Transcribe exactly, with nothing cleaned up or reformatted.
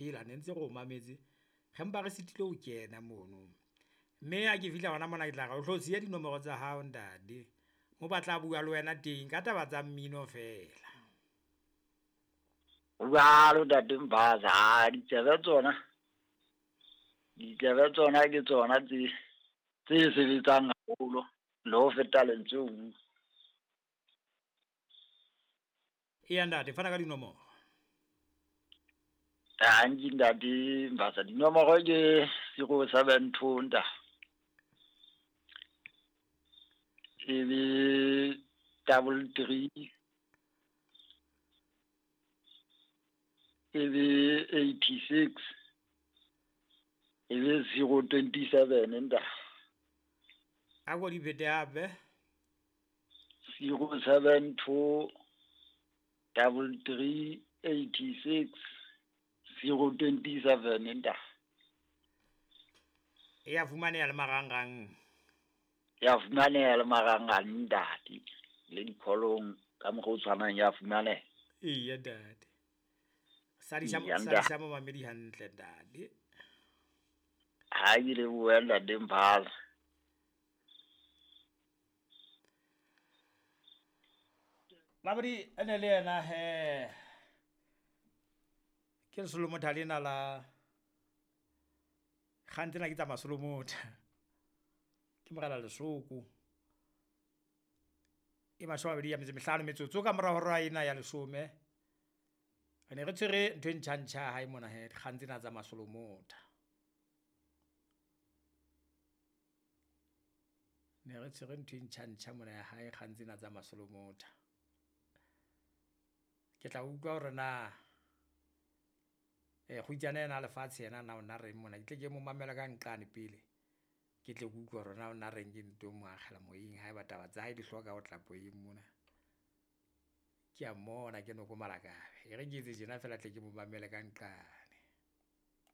Phela ne ntse re o mametse, re mpa re sitilwe ho kena mono. Mme ha ke fihla hona mona ke tla re o hlo siya dinomoro tsa hao ntate, mo ba tla bua le wena teng ka taba tsa mmino feela. Jwalo ntate Mbasa, ha ditsebe tsona, ditsebe tsona ke tsona tse tse sebetsang haholo le ho feta lentswe ho bua. Eya ntate, fana ka dinomoro. Tanki ntate Mbasa, dinomoro ke zero seven two nta. E be double three, e be eighty six, e be zero twenty seven nta. A ko di phete hape. Zero seven two double three eighty six zero twenty seven nta. E ya fumaneha le marangrang. Ya fumaneha le marangrang ntate, le dikholong ka mokgwa o tshwanang ya fumaneha. Eya ntate. Sadisa Eya, sadisa momamedi hantle ntate. Ha ke lebohe ntate Mbasa. Mamedi ene le yena he. Ke Lesolomotha lena la kgang tsena ke tsa Masolomotha. Ke morena Lesoko. E mashome a mabedi a metso e mehlano metsotso ka mora hora ena ya leshome. Re ne re tshwere ntho e ntjha-ntjha hae mona he, dikgang tsena tsa Masolomotha. Ne re tshwere ntho e ntjha-ntjha mona ya hae, kgang tsena tsa Masolomotha. Ke tla utlwa hore na eh kgutsana ena lefatshe yena na ona reng mona, ke tle ke mo mamela ka nqane pele. Ke tle ke utlwe hore na ona reng ke nto mo akgela moyeng haeba taba tsa hae di hloka ho tla moyeng mona. Ke a mmona ke noko malakabe, e re ke etse tjena feela tle ke mo mamele ka nqane.